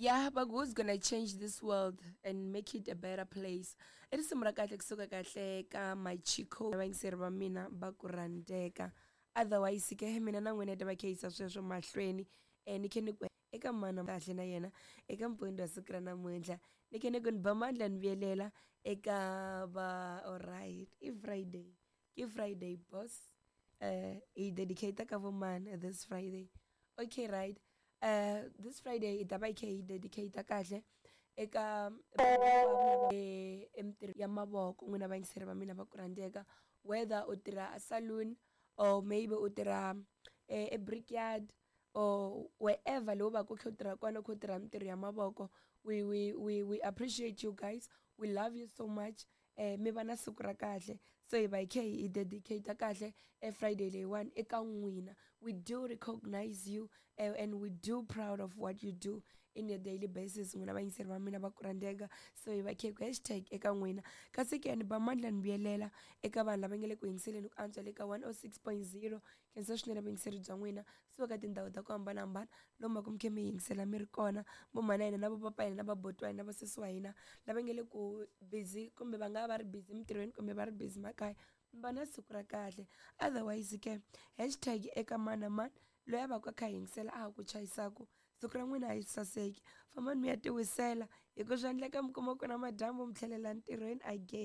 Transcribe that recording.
Yeah, but who's gonna change this world and make it a better place? I risimu ra kahle kusuka kahle ka Machiko, vayingiseri va mina va ku rhandzeka. Otherwise ke mina na n'wina hi ta va kha yisa sweswo mahlweni. Ni khe ni ku eka mana kahle na yena eka mpfundo wa siku ra namuntlha, ni khe ni ku ni ba mandla ni vuyelela eka va. Alright, i Friday, ke Friday boss. Hi dedicate ka vo mani this Friday? Okay, right, this Friday hi ta va hi kha hi dedicate kahle eka emitirho ya mavoko. N'wina vayingiseri va mina va ku rhandzeka, whether u tirha a saloon or maybe u tirha e brickyard or wherever lowu va ku kha u tirha kona, u kha u tirha mitirho ya mavoko, we appreciate you guys, we love you so much. Mi va na siku ra kahle. So hi va hi kha hi dedicate kahle e Friday leyiwani eka n'wina. We do recognize you and we do proud of what you do in your daily basis, n'wina vayingiseri va mina va ku rhandzeka. So hi va kha hi ku hashtag eka n'wina. Kasi ke ni ba mandla ni vuyelela eka vanhu lava nga le ku yingiseleni ku antswa le ka 106.0. Khensa swinene vuyingiseri bya n'wina suka ka tindhawu ta ku hambanahambana lomu va ku mi kha mi yingisela mi ri kona, vo mhana hina na vo papa hina na vabuti wa hina, vasesi wa hina lava nga le ku busy kumbe va nga va ri busy emitirhweni kumbe va ri busy makaya, mi va na siku ra kahle. Otherwise ke hashtag eka mani na mani loyi a va ku a kha a yingisela a ha ku chayisaku, siku ra n'wina a yi saseki. Fambani mi ya tiwisela, hi ku swa endleka mi kuma ku na madyambu mi tlhelela ntirhweni again.